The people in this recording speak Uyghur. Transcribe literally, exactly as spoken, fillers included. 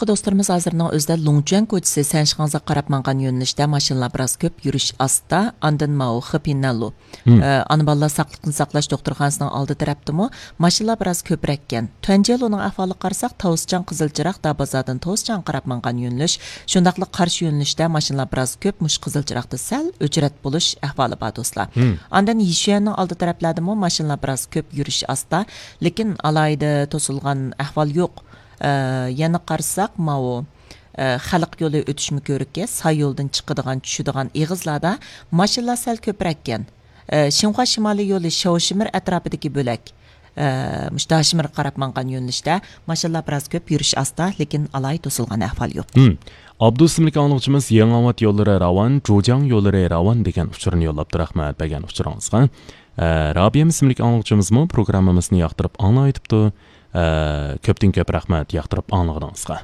دوستلىرىمىز ھازىرنىڭ ئۆزىدە لۇڭچۈەن كوچىسى سەنشىخاڭزا قاراپ مانغان يۆنىلىشتە ماشىنىلار بىراز كۆپ، يۈرۈش ئاستا. ئاندىن ماۋۇ خېپىنەنلۇ، مم. ئانا بالىلار ساقلىقنى ساقلاش دوختۇرخانىسىنىڭ ئالدى تەرەپتىمۇ ماشىنىلار بىراز كۆپرەككەن. تۈەنجيېلۇنىڭ ئەھۋالىغا قارىساق، تاۋسىچاڭ، قىزىل چىراغ، دابازادىن تاۋسىچاڭغا قاراپ مانغان يۆنىلىش، شۇنداقلا قارشى يۆنىلىشتە ماشىنىلار بىراز كۆپ، مۇشۇ قىزىل چىراغدا سەل ئۆچرەت بولۇش ئەھۋالى بار، دوستلار. مم. ئاندىن يىشۈەننىڭ ئالدى تەرەپلەردىمۇ ماشىنىلار بىراز كۆپ، يۈرۈش ئاستا، لېكىن ئالاھىدە توسۇلغان ئەھۋال يوق. ئە، يەنە قارىساق، ماۋۇ، ئە، خەلق يولى ئۆتۈشمە كۆرۈكى، ساي يولدىن چىقىدىغان، چۈشىدىغان ئېغىزلاردا ماشىنىلار سەل كۆپرەككەن. ئە، شىنخۇا شىمالىي يولى شياۋشىمىر ئەتراپىدىكى بۆلەك، ئە، مۇشۇ داشىمىرغا قاراپ ماڭغان يۆنىلىشتە ماشىنىلار بىراز كۆپ، يۈرۈش ئاستا، لېكىن ئالاھىدە توسۇلغان ئەھۋال يوق. ھىم. ئابدۇ ئىسىملىك ئاڭلىغۇچىمىز يېڭىئاۋات يوللىرى راۋان، جۇجياڭ يوللىرى راۋان دېگەن ئۇچۇرنى يوللاپتۇ. رەھمەت بەرگەن ئۇچۇرىڭىزغا. ئە، رابىيەم ئىسىملىك ئاڭلىغۇچىمىزمۇ پروگراممىمىزنى ياقتۇرۇپ ئاڭلاۋېتىپتۇ. ئە، كۆپتىن كۆپ رەھمەت ياقتۇرۇپ ئاڭلىغىنىڭىزغا.